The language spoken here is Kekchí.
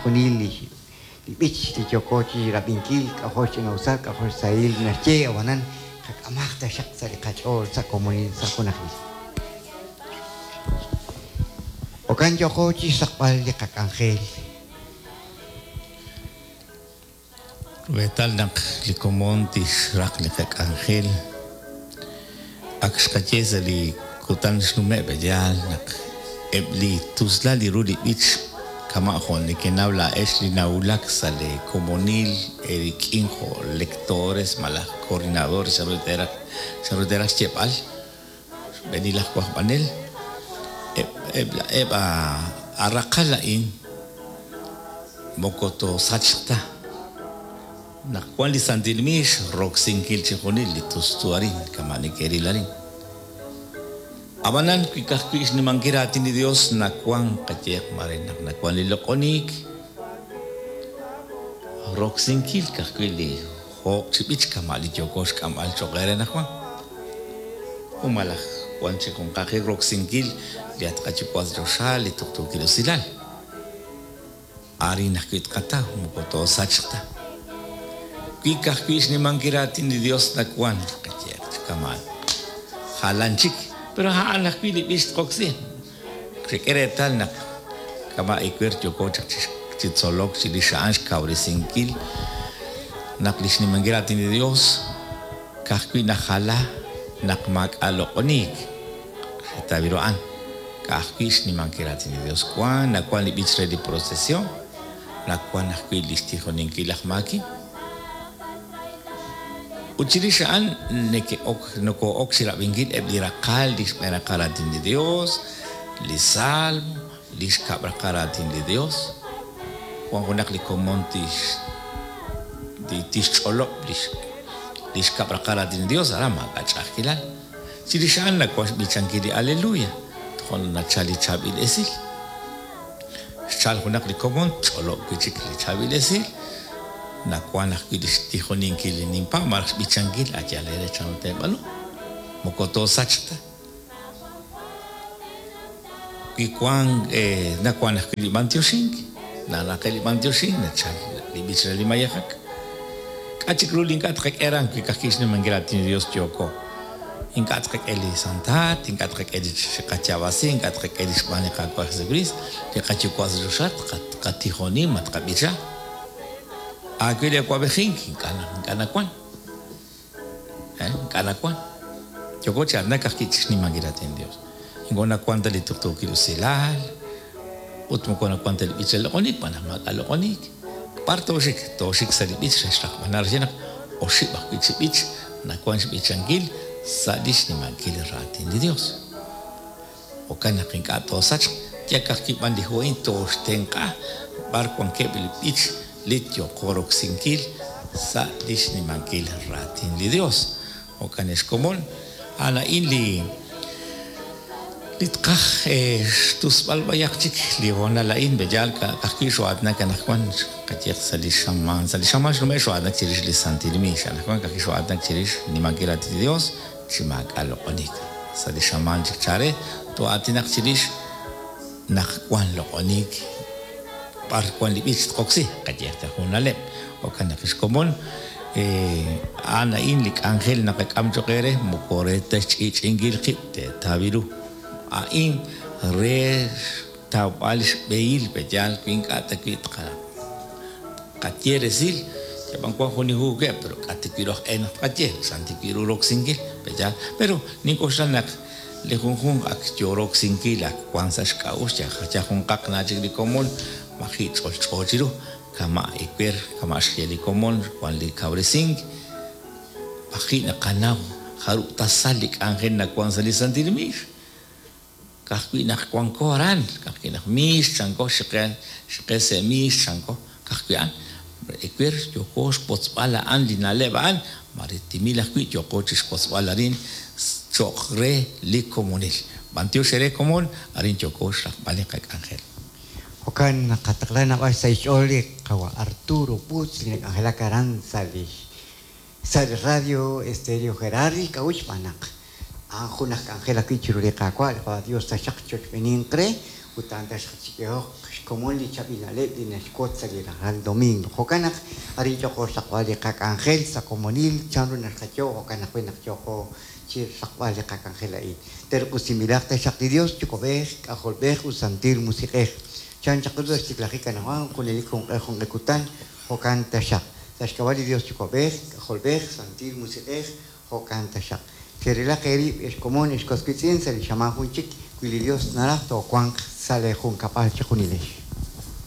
chixjunil li li b'ich li yooko chi rab'inkil, k'ajo' xch'ina'usal, k'ajo' xsahil naxye, ab'anan qak'amaq taxaq sa' li qach'ool sa' komonil, sa' junajil. Jo'kan yooko chi xraqb'al li qak'anjel. Rub'eetal naq li komon tixraq li qak'anjel, ak xqaye sa' li kutan xnume' b'eyaal naq eb' li tuslal li ru li b'ich kama' jo' nekenaw laa'ex li nawulak sa' lee komonil eerik'in jo' lectores malaj coordinadores chanru teeraj chanru teeraj xyeeb'al xb'eenil aj wajb'anel eb' eb' eb' a raqal a'in moko toosachq ta naq wan li santil miix roksinkil chijunil li tustu arin kama' neke'ril arin. Ab'anan wi ka'ajwi' xnimankil raatin li Dios nawan qayeeq mare naq nawan li loq'oniik, roksinkil ka'ajwi' li joob' chi b'ich kama' li yooko xk'amb'al cho'q eere anaqwan. Jun malaj wan chi junqaqil roksinkil li At qaYuwa' sa' choxa li tuqtuukil usilal. Arin ajwi' tqataw, moko toosachq ta. Wi ka'ajwi' xnimankil raatin li Yos nawank, qayeeq chi kama'an. Jalan chik, pero a'an ajwi' li b'ich tqoksi. Qak'e reetal naq kama' ewer yooko chaq chi tzolok chirix a'an xkawresinkil naq li xnimankil raatin li Yos ka'ajwi' najala naq maak'a' loq'oniik. Xetaw ru a'an, ka'ajwi' xnimankil raatin li Dios wan, nawan li b'ich re li procesion, nawan ajwi' lix tijoninkil laj maaki. Ut chirix a'an neke'ok, noko'ok chirab'inkil eb' li raqal, li xb'een raqal raatin li Dios, li salmo, li xkab' raqal raatin li Dios. Wan junaq li komon tix, tixch'olob' lix, li xkab' raqal raatin li Dios, aran maak'a' ch'a'ajkilal. Chirix a'an nawank xb'ichankil li Aleluya, toja' naq nachalk li chaab'il esil. Xchalk junaq li komon, tch'olob' wi' chik li chaab'il esil. Nawank ajwi' li xtijoninkil li ninpaab' malaj xb'ichankil, a' yaal eere chanru teeb'aanu. Moko toosachq ta. Wi wank, nawank ajwi' li b'anyoxink, naraqe'k li b'anyoxink, nachalk li b'ich re li mayejak. K'a' chik ru li ink'a' tqak'e aran wi ka'ajwi' xnimankil raatin li Yos yooko? Ink'a' tqak'e li santaat, ink'a' tqak'e li qayaab'asi, ink'a' tqak'e li xb'aan li Qaawa' Jesukriist, li qaYuwa' sa' choxa, tqatijoni ma tqab'icha. Aawe li awab'ejink, ink'a' nawank. Ink'a' nawank. Yooko chi aatinak ka'ajwi' chi xnimankil raatin li Yos. Ink'a' nawank ta li tuqtuukil usilal ut moko nawank ta li b'ich re loq'oniik xb'aan naq maak'a' loq'oniik. B'ar tooxik? Tooxik sa' li b'ich re xraqb'al. Naraj naq oxib' ajwi' chi b'ich nawank xb'ichankil sa' li xnimankil raatin li Yos. Jo'kan naq ink'a' toosachq, yal ka'ajwi' b'an li hu a'in tooxtenq'a b'ar wankeb' li b'ich li yooqo roksinkil sa' li xnimankil raatin li Yos. Jo'kan ex komon, a'an a'in li li tqaj xtusb'al b'ayaq chik li hoonal a'in, b'eyaal ka'ajwi' xoo'aatinak anaqwan, qayeeq sa' li xamaan, sa' li xamaan xnume' xoo'aatinak chirix li Santil Miix, anaqwan ka'ajwi' xoo'aatinak chirix xnimankil raatin li Yos chi maak'a' loq'oniik. Sa' li xamaan chik chare, too'aatinaq chirix naq wan loq'oniik b'ar wan li b'ich tqoksi, qayeeq ta jun na'leb'. Jo'kan naq ex komon, a'an a'in li k'anjel naqak'am cho'q eere, moko re ta xch'i'ch'i'inkil qib' teetaw ru. A'in re xtawb'al xb'ehil, pe'yaal wi ink'a' ta wi' tqaye resil, yab'an wank jun li hu we, pero k'a' ta wi' ru aj e naq tqaye, chan ta wi' ru roksinkil, pe'yaal. Pero nink'oxla naq li junjunq ak yo roksinkil, ak wank sa' xk'a'uxl, yal junqaq na chik li komon maji' ch'olch'o chiru. Kama' ewer, kama' xye li komon, wan li kawresink, b'aji' naqanaw jarub' tasal li k'anjel nawan sa' li santil miix. Ka'ajwi' naq wanko aran, ka'ajwi' naq miix chanko, xiqe, xiqe se' miix chanko, ka'ajwi' a'an. Ewer yooko xwotzb'al a'an li na'leb' a'an, mare timil ajwi' yooko chixwotzb'al arin cho'q re li komonil. B'antiox eere komon, arin yooko xraqb'al li qak'anjel. Jo'kan naqataqla naab'al xsahil xch'ool li qawa' Arturo Butz li nak'anjelak aran sa' li sa' li Radio Estéreo Gerardi k'a'uxl xb'aan naq a'an jun aj k'anjel ajwi' chiru li Qaawa', li Qawa' Dios taxaq chochb'eninq re Ut a'an taxaq chik'ehoq xkomon li chaab'il na'leb' li naxwotz sa' li rajlal domingo. Jo'kan naq arin yooqo xraqb'al li qak'anjel sa' komonil, chanru naxqayo, jo'kan ajwi' naq yooqo chi xraqb'al li qak'anjel a'in. Terq'usinb'ilaq taxaq li Dios Yuwa'b'ej, K'ajolb'ej ut Santil Musiq'ej. Chan chaq ru sa' xtiklajik anaqwan, junelik junq'e junq'e kutan, jo'kan taxaq. Sa' xk'ab'a' li Dios Yuwa'b'ej, K'ajolb'ej, Santil Musiq'ej, jo'kan taxaq. Cherilaq eerib', ex komon, ex was wiitz'in, sa' li xamaan jun chik, wi li Dios naraj toowanq sa' lee junkab'al chejunilex.